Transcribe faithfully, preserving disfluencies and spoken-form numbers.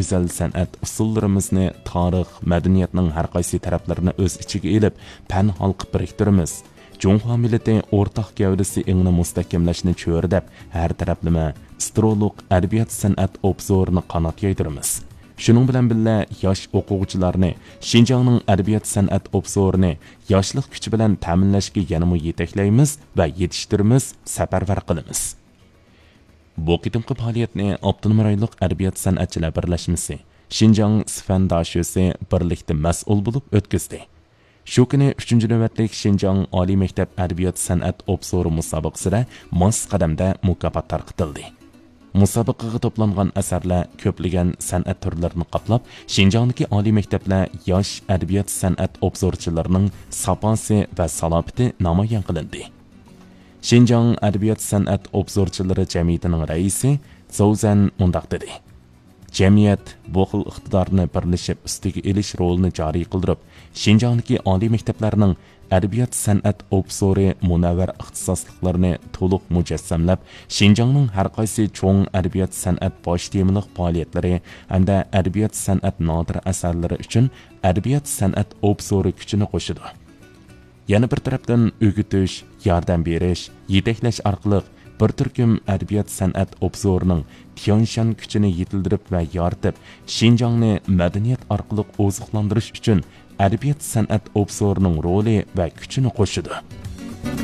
گۈزەل سەنئەت ئۇسسۇللىرىمىزنى تارىخ، مەدەنىيەتنىڭ ھەر قايسى تەرەپلىرىنى ئۆز ئىچىگە ئېلىپ، پەن ھالقىپ بىرىكتۈرىمىز. جۇڭخۇا مىللىتى ئورتاق گەۋدىسى ئېڭىنى مۇستەھكەملەشنى چۆرىدەپ، ھەر تەرەپلىمە ئىسترولۇق ئەدەبىيات سەنئەت ئوبزورىنى قانات يايدۇرىمىز. شۇنىڭ بىلەن بىللە، ياش ئوقۇغۇچىلارنى شىنجاڭنىڭ ئەدەبىيات سەنئەت ئوبزورىنى ياشلىق كۈچى بىلەن تەمىنلەشكە يەنىمۇ يېتەكلەيمىز ۋە يېتىشتۈرىمىز، سەپەرۋەر قىلىمىز. بۇ قېتىمقى پائالىيەتنى ئاپتونوم رايونلۇق ئەدەبىيات سەنئەتچىلەر بىرلەشمىسى، شىنجاڭ سىفەن داشۆسى بىرلىكتە مەسئۇل بولۇپ ئۆتكۈزدى. شۇ كۈنى ئۈچىنچى نۆۋەتلىك شىنجاڭ ئالىي مەكتەپ ئەدەبىيات سەنئەت ئوبزورى مۇسابىقىسىدە ماس قەدەمدە مۇكاپات تارقىتىلدى. مۇسابىقىگە توپلانغان ئەسەرلەر كۆپلىگەن سەنئەت تۈرلىرىنى قاپلاپ، شىنجاڭدىكى ئالىي مەكتەپلەر ياش ئەدەبىيات سەنئەت ئوبزورچىلىرىنىڭ ساپاسى ۋە سالاپىتى نامايان قىلىندى. شىنجاڭ ئەدەبىيات سەنئەت ئوبزورچىلىرى جەمئىيىتىنىڭ رەئىسى زوۋزەن مۇنداق دېدى: جەمئىيەت بۇ خىل ئىقتىدارنى بىرلىشىپ ئۈستىگە ئېلىش رولىنى جارى قىلدۇرۇپ، شىنجاڭدىكى ئالىي مەكتەپلەرنىڭ ئەدەبىيات سەنئەت ئوبزورى مۇنەۋۋەر ئىختىساسلىقلىرىنى تولۇق مۇجەسسەملەپ، شىنجاڭنىڭ ھەر قايسى چوڭ ئەدەبىيات سەنئەت باش تېمىلىق پائالىيەتلىرى ھەمدە ئەدەبىيات سەنئەت نادىر ئەسەرلىرى ئۈچۈن ئەدەبىيات سەنئەت ئوبزورى كۈچىنى قوشىدۇ. يەنە بىر تەرەپتىن، ئۆگىتىش، ياردەم بېرىش، يېتەكلەش ئارقىلىق بىر تۈركۈم ئەدەبىيات سەنئەت ئوبزورىنىڭ تيەنشان كۈچىنى يېتىلدۈرۈپ ۋە يارىتىپ، شىنجاڭنى مەدەنىيەت ئارقىلىق ئوزۇقلاندۇرۇش ئۈچۈن ئەدەبىيات سەنئەت ئوبزورىنىڭ رولى ۋە كۈچىنى قوشىدۇ.